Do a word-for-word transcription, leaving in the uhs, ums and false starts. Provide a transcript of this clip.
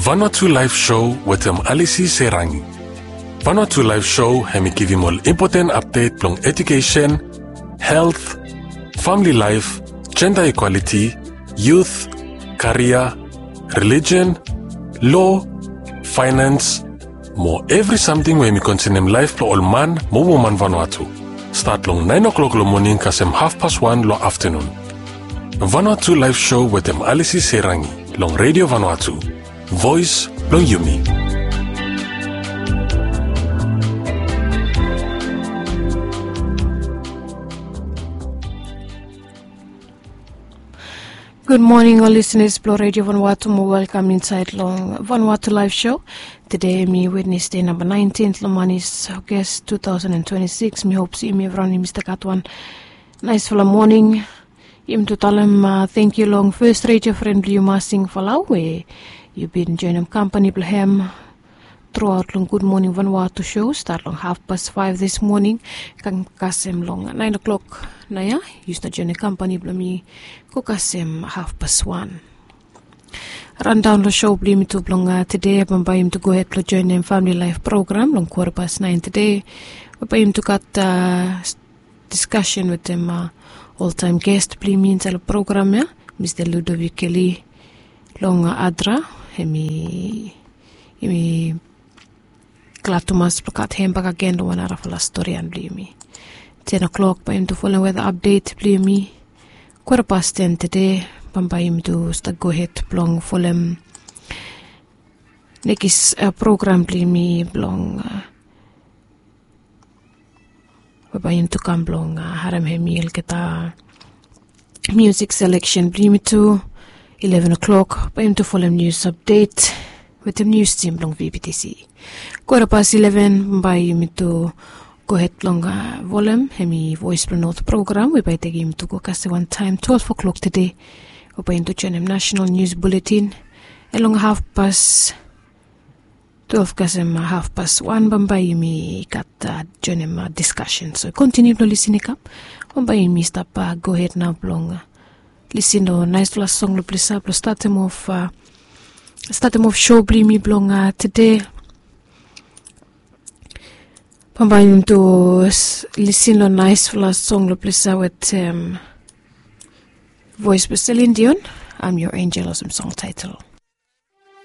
Vanuatu Live Show wetem Alisi Serangi. Vanuatu Live Show hemi givim ol impoten apdet blong edukesen, helt, famili laef, jenda ikwaliti, yut, karia, relijen, lo, faenans, mo evri samting we hemi konsenem laef blong ol man mo woman Vanuatu. Stat long naen o'klok long moning kasem hafpas wan long aftenun. Vanuatu Live Show wetem Alisi Serangi long Redio Vanuatu, voes blong yumi. Gud moning ol lisenas blong Redio Vanuatu mo welkam insaed long Vanuatu Live Show. Tede hemi Wednesde namba naentin long manis August two thousand and twenty-six. Mi hop se yumi evriwan yumi stap gat wan naesfala moning. Yumi tu talem tangkiu long fes redio fren blong yu Masing Falau we yu bin joenem kampani blong hem truaot long Gud Moning Vanuatu show stat long hafpas faef dis moning kam kasem long naen o'klok. Naoia yu stap joenem kampani blong mi go kasem hafpas wan. Randaon long show blong yumi tu blong tede, bambae yumi tu gohed blong joenem famili laef program long kwata pas naen tede. Bambae yumi tu gat diskasen wetem oltaem gest blong yumi insaed long program ya, Mista Ludovic Kelly long Adra. Hemi yumi glad tumas blong gat hem bakegen long wan narafala storian blong yumi. Ten o'klok bae yumi tu folem weta apdet blong yumi. Kwata pas ten tede, bambae yumi tu stap gohed blong folem nekis program blong yumi blong we bae yumi tu kam blong harem hemi olgeta miusik seleksen blong yumi tu. Ileven o'klok bae yumi tu folem nius apdet wetem nius tim blong V B T C. Kwata pas ileven bae yumi tu gohed blong folem hemi Voes blong Not program we bae i tekem yumi tu go kasem wantaem twelve o'klok tede, we bae yumi tu joenem nasenal nius buletin. Long hafpas twelve kasem hafpas wan bambae yumi gat joenem diskasen. So kontiniu blong lisin i kam. Bambae yumi stap gohed nao blong lisin long naesfala song long ples ya blong statem of statem of show blong yumi blong tede. Bambae yumi tu lisin long naesfala song long ples ya wetem voes blong Celine Dion, I'm Your Angel, olsem song taetel.